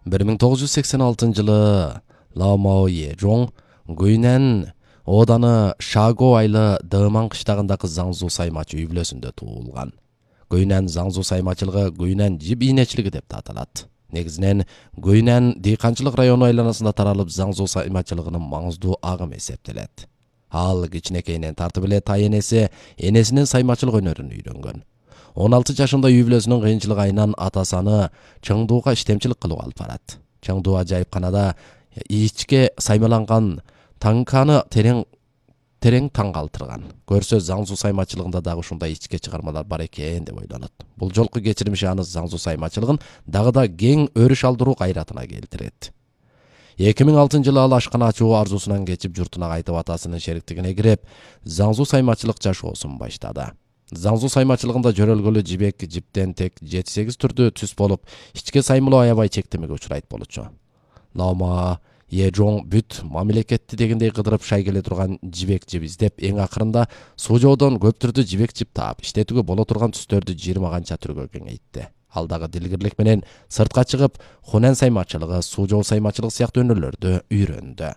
1986-жылы Ламао Ежон Гуйнэн Оданы Шаго айлы Дыман кыштагындагы Заңзу саймачы үй бүлөсүндө туулган. Гуйнэн Заңзу саймачылыгы Гуйнэн жип ийнечилиги деп аталат. Негизинен Гуйнэн дыйканчылык району айланасында таралып Заңзу саймачылыгынын маңыздуу агымы эсептелет. Ал кичинекейинен тартып эле тайенеси энесинин саймачылык өнөрүн үйрөнгөн. 16 жашында үй бүлөсүнүн кыйынчылык айынан атасы аны Чыңдууга иштемчилик кылууга алып барат. Чыңдуу ажайыпканада ичке саймаланган таңканы терең таң калтырган. Көрсө Заңзу саймачылыгында дагы ушундай ичке чыгармалар бар экен деп ойлонот. Бул жолку кечирмиши аны Заңзу саймачылыгын дагы да кең өрүш алдыруу кайратына келтирет. 2006-жылы ал ашкана ачуу арзусунан кечип журтуна кайтып атасынын шериктигине кирип, Заңзу саймачылык жашоосун баштады. Заңзу саймачылыгында жөрөлгөлү жибек жиптен тек 7-8 түрдүү түс болуп, ичке саймылоо аябай чектемеге учурайт болчу. Лама Ежон бүт мамлекетти дегендей кыдырып шай келе турган жибек жип издеп, эң акырында Сужоодон көп түрдүү жибек жип таап, иштетүүгө боло турган түстөрдү 20 канча түргө кеңейтти. Ал дагы дилгирлик менен сыртка чыгып, Хунэн саймачылыгы, Сужоо саймачылыгы сыяктуу өнөрлөрдү үйрөндү.